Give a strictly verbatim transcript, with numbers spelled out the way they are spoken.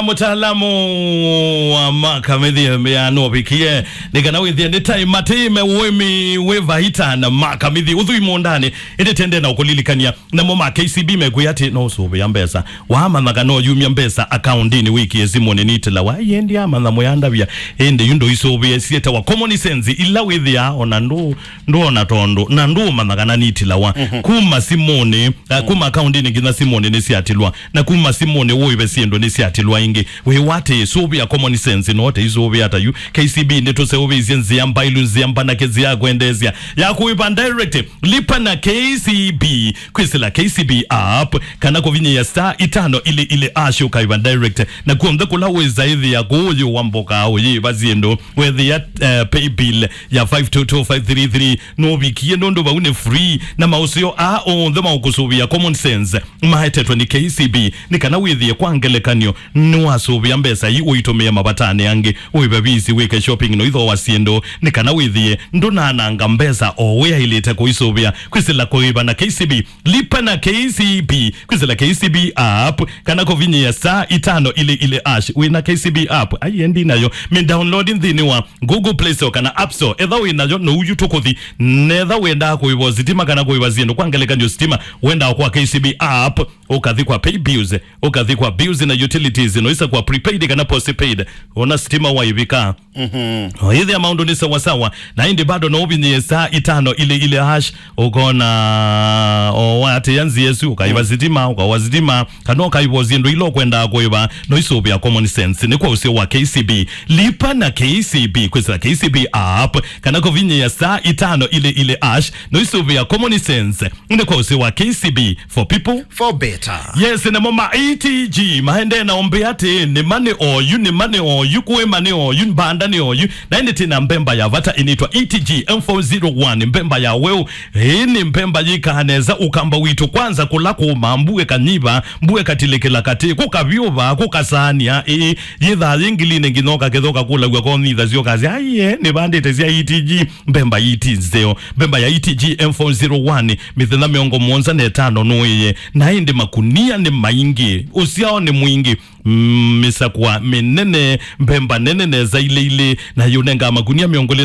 Mũtaalamu wa makamithi ya nũvikie nĩ kana wĩthĩe nĩ tai matĩ me ũĩmi wĩ vaita na makamithi ũthui mũũndanĩ. Ĩndĩ tende na ũkũlilikany'a, namo ma K C B mekwĩa atĩ no ũsũvĩa mbesa. Wamanya kana ũyumya mbesa akaundinĩ wĩkie simũnĩ nitĩlawa. Ĩndĩ amanya mũyandavya, ĩndĩ yu ndũisũvĩe syĩtawa common sense ila wĩthĩaa ona ndũ ndũona tondũ na ndũũmanya kana nitilawa. Mhm. Kuma simũnĩ, uh, kuma akaundinĩ nginya simũnĩ nĩsyatilwa, na kuma simũnĩ ũĩve syĩndũ nĩsyatilwa ĩngĩ. Wĩwatĩ sũvĩa common sense no te isũvĩa ta yu. K C B nĩtũseũvĩisye nzĩa mbailu, nzĩa mbanake, nzĩa ya kwendeesya ya kũĩva direct. Lipa na K C B, kwĩsĩla K C B app, kana kũvinyĩĩa star itano ili ili ash ũkaĩva direct. Na kuonthe kũla wĩsa ĩthĩa kũũyũ wa mboka ũyĩva syĩndũ. Wethĩa, eh, pay bill ya five two two five three three nũvikie nũndũ vau nĩ free, na maũseo aa onthe maũkũsũvĩa common sense maetetwe nĩ K C B. Nĩ kana wĩthĩe kwa ngelekany'o nĩwasũvĩa mbesa ii ũitũmĩe mavatanĩ angĩ, ũĩve visi, wĩke shopping, no ithooa syĩndũ. Nĩ kana wĩthĩe ndũnananga mbesa o wĩaĩlĩte kũisũvĩa. Kwĩsĩla kũĩva na K C B, lipa na K C B, kwĩsĩla K C B app, kana kũvinyĩĩa star itano ili ili ash. Wĩna K C B app? Ai, endi nayo. Mĩ download nthĩnĩ wa Google Play Store kana App Store. Etha wĩ nayo, no uyu tũkũthi. Netha wendaa kũĩva sitima kana kũĩva syĩndũ, kwa ngelekany'o sitima, wendaa kwa K C B app, ũkathi kwa pay bills, ũkathi kwa bills na utilities, no isa kwa prepaid kana postpaid. Ona sitima waivika. Mhm. Ĩthĩa maũndũ nĩ sawasawa, na ĩndĩ bado no ũvinyĩe star itano ili ili ash, ũkona o watĩa nzĩa ĩsu, ũkaĩva sitima, ũkawa sitima, kana ũkaĩva syĩndũ ila ũkwendaa kũĩva, no isũvĩa common sense. Nĩ kwa ũseo wa K C B. Lipa na K C B, kwĩsĩla K C B app, kana kũvinyĩĩa star itano ili ili ash, no isũvĩa common sense. Nĩ kwa ũseo wa K C B, for people, for better. Yes, namo ma E T G maendee na ũmbĩ atĩ nĩma nĩ oyu, nĩma nĩ oyu, kũĩma nĩ oyu, mbanda nĩ oyu. Na ĩndĩ tĩna mbemba ya vata ĩnĩtwa E T G M four zero one, mbemba ya weũ. Ĩĩ nĩ mbemba yĩkaa nesa, ũkamba witũ kwanza kũla kũũma, mbua ĩkanyiva, mbua ĩkatilĩkĩla katĩ, kũkavyũva, kũkasaanĩa, ĩĩ, yĩthaa yĩ ngilinĩ nginya ũkaketha ũkakũlaw'a konyitha syokasya, aiye, nĩvandĩte sya E T G, mbemba iti nzeo, mbemba ya E T G M four zero one, mĩthenya mĩongo mũonza na ĩtano nũĩe, na ĩndĩ makunia nĩ maingĩ, ũsyao nĩ mwingĩ. Mm, mĩsakwa mĩnene, mbemba nene nesa ilĩ ilĩ, na yũnengaa makunia mĩongo ĩlĩ